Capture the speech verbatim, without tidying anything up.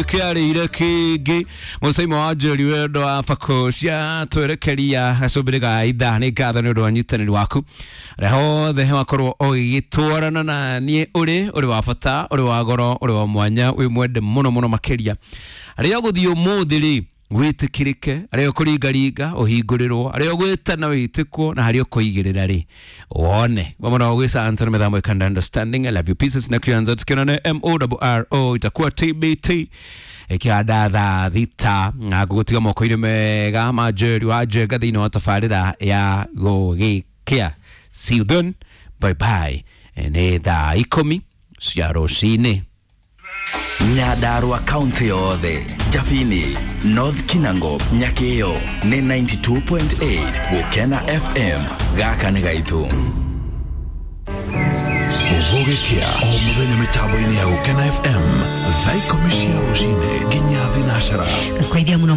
Kĩarĩire kĩngĩ mũcaimo wa njeri wendo wa bako cia twerekeria gacũmbĩrĩ ga ithaa. Nĩ ngatho nĩ ũndũ wa nyitanĩri waku rĩa hothe wakorwo ũgĩgĩtwarana na niĩ. Ũrĩ ũrĩ wa bata, ũrĩ wa goro, ũrĩ wa mwanya, wĩ mwende mũno mũno makĩria. Arĩa ũgũthiĩ ũmũthĩ rĩ, wĩtĩkĩrĩke, arĩa ũkũringaringa ũhingũrĩrwo, arĩa ũgwĩtana wĩtĩkwo, na harĩa ũkũigĩrĩra rĩ wone vamwe gwĩca Anthony Mĩthambo Ikanda understanding. I love you pieces na kianza tukiona M O R O itakuwa T B T ikĩhanda thaa thita na ngũgũtiga moko-inĩ mega ma Njeri wa Njenga thĩinĩ wa tabarĩra ya gũgĩkĩa. See you then, bye bye. Nĩ thaa ikũmi cia rũcinĩ. Nyandarua kaunti yothe, Jabini, North Kinango, Nyakio nĩ ninety-two point eight Gukena F M. Gaka nĩ gaitũ. Gũgĩkĩa o mũthenya mĩtambo-inĩ ya Gũkena F M thaa ikũmi cia rũcinĩ nginya thinacara. Kwaithia muno.